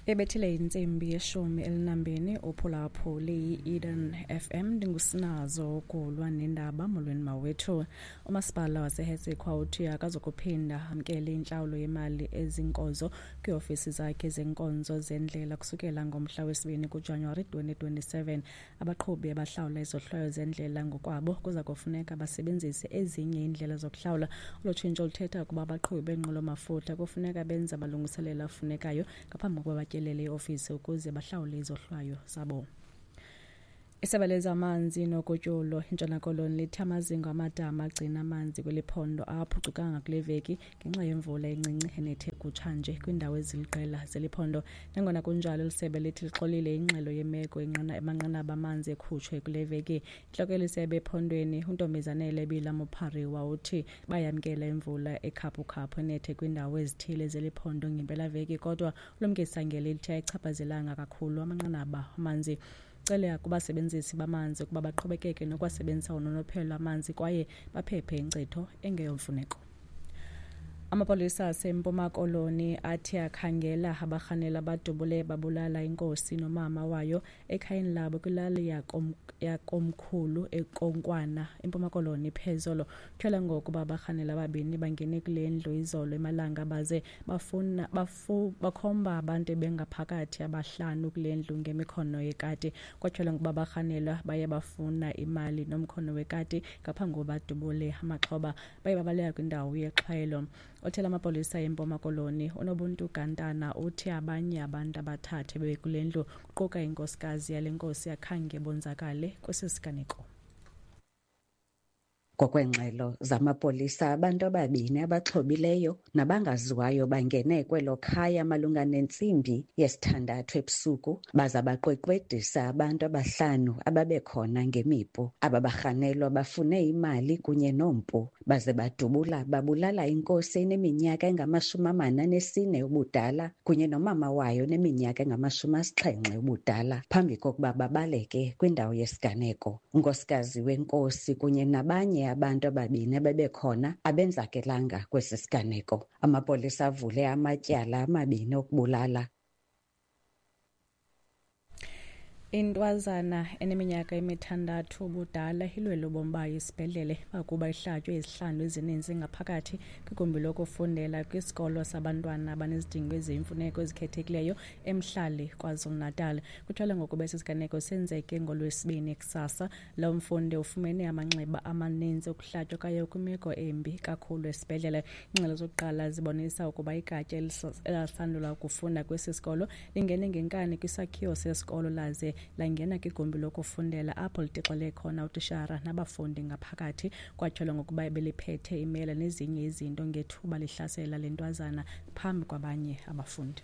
Ebethile intsimbi yeshumi elinambini uphulaphuli yi-Eden FM, ndingusinazo ukulwa nendaba. Molweni mawethu. Umasipala waseHessequa uthi akazukuphinda amkele intlawulo yemali ezinkozo kwiiofisi zakhe zenkonzo zendlela kusukela ngomhla wesibini kuJanuwari 2027. Abaqhubi abahlawula izohlwayo zendlela ngokwabo kuza kufuneka basebenzise ezinye iindlela zokuhlawula. Olu tshintsho luthetha ukuba abaqhubi beenqwelo-mafutha kufuneka benze amalungiselelo afunekayo ngaphambi kokuba batyelele iofisi ukuze bahlawule izohlwayo zabo. Isebe lezamanzi nogutyulo iNtshona Koloni lithi amazingo amadama agcina amanzi kweli phondo awaphucukanga kule veki ngenxa yemvula encinci enethe kutshanje kwiindawo eziliqela zeli phondo. Nangona kunjalo, eli sebe lithi lixolile ingxelo yemeko amanqanaba amanzi ekhutshwe kule veki. Intloko yeli sebe ephondweni uNtombizanele Bila Mopariwa uthi bayamkela imvula ekhaphukhaphu enethe kwiindawo ezithile zeli phondo ngempelaveki, kodwa ulumkisa ngelithi ayichaphazelanga kakhulu amanqanaba amanzi. Cele kubasebenzisi bamanzi ukuba baqhubekeke nokuwasebenzisa ngononophelo amanzi kwaye baphephe inkcitho engeyomfuneko. Amapolisa aseMpuma Koloni athi akhangela abarhanela abadubule babulala inkosi nomama wayo ekhayeni labo kwilali yakomkhulu eKonkwana eMpuma Koloni phezolo. Kutyholwa ngokuba abarhanela ababini bangene kule ndlu izolo emalanga baze bafuna bakhomba abantu ebengaphakathi abahlanu kule ndlu ngemikhono yekati. Kwatyholwa ngokuba abarhanelwa baye bafuna imali nomkhono wekati ngaphambi kokuba badubule amaxhoba. Baye babaleka kwindawo yexhwayelo. Othela amapolisa eMpuma Koloni uNobuntu Gantana uthi abanye abantu abathathu ebebekule ndlu kuquka inkosikazi yale nkosi akhange bonzakale kwesi siganeko. Ngokweengxelo zamapolisa, abantu ababini abaxhobileyo nabangaziwayo bangene kwelo khaya malunga nentsimbi yesithandathu ebusuku baza baqweqwedisa abantu abahlanu ababekhona ngemipu. Aba barhanelwa bafune imali kunye nompu baze badubula babulala inkosi eneminyaka engama-44 ubudala kunye nomama wayo oneminyaka engama-70 ubudala phambi kokuba babaleke kwindawo yesiganeko. Unkosikazi wenkosi kunye nabanye abantu ababini abebekhona abenzakelanga kwesi siganeko. Amapolisa avule amatyala amabini okubulala. Intwazana eneminyaka emithandathu ubudala ilwele ubomi bayo esibhedlele bakuba ihlatywe izihlandlo ezininzi ngaphakathi kwigumbi lokufundela kwisikolo sabantwana abanezidingo eziyimfuneko ezikhethekileyo eMhlali KwaZulu-Natal. Kutyholwa ngokuba esi siganeko senzeke ngoLwesibini kusasa. Lo mfundi ufumene amanxeba amaninzi okuhlatywa kwaye ukwimeko embi kakhulu esibhedlele. Iingxelo zokuqala zibonisa ukuba igatya elalisandula ukufunda kwesi sikolo lingene ngenkani kwisakhiwo sesikolo laze langena kwigumbi lokufundela apho litixele khona utishara nabafundi ngaphakathi. Kwatyholwa ngokuba beliphethe imela nezinye izinto ngethuba lihlasela le ntwazana phambi kwabanye abafundi.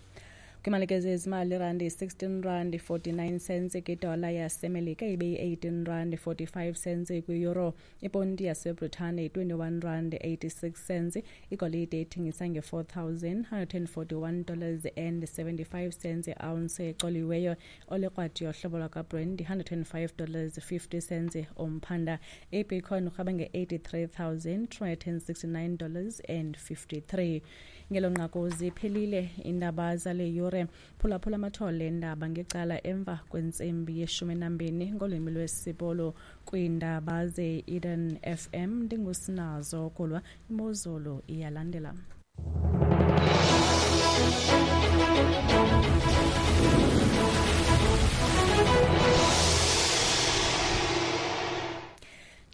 Kwimalike zezimali, irandi yi-16 rand 49 cents kwidola yaseMelika, ibe yi-18 rand 45 cents kwi-euro. Iponti yaseBritane yi-21 rand 86 cents. Igolide ithengisa nge-$4,141 dollars and 75 cents i-ounce ecoliweyo. Olekrwadi yohlobo lwakwaBrent yi-$105 dollars 50 cents umphanda. IBitcoin urhaba nge-$83,269 dollars and 53. Ngelo nqaku ziphelile iindaba zale yure. Phulaphula amathole endaba ngecala emva kwentsimbi yeshumi nambini ngolwimi lwesiPolo kwiindaba ze-Eden FM. Ndingusinazo Kulwa. Imozulu iyalandela.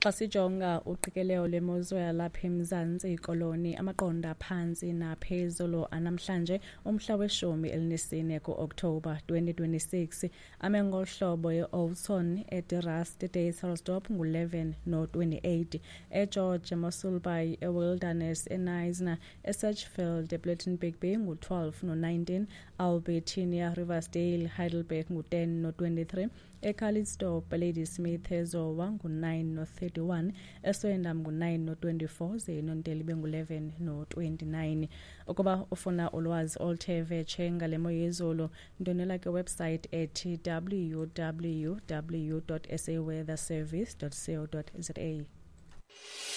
Xa sijonga uqikelelo lwemozulu yalapha eMzantsi Koloni, amaqondo aphantsi naphezulu anamhlanje umhla weshumi elinesine ku-Okthobha 2026 ame ngolu hlobo: e-Oudtshoorn, eDe-Rust, eDysselsdorp ngu-11 no-28, eGeorge, eMossel Bay, eWilderness, eKnysna, eSedgefield, ePlettenberg Bay ngu-12 no-19, Albertinia, Riversdale, Heidelberg ngu-10 no-23, eCalitzdorp, Ladysmith, eZowa ngu-9 no-31, eSwellendam ngu-9 no-24, ze eNontele ibe ngu-11 no-29. Ukuba ufuna ulwazi oluthe vetshe ngale mo yezulu, ndwendwela kwiwebsite ethi www.saweatherservice.co.za.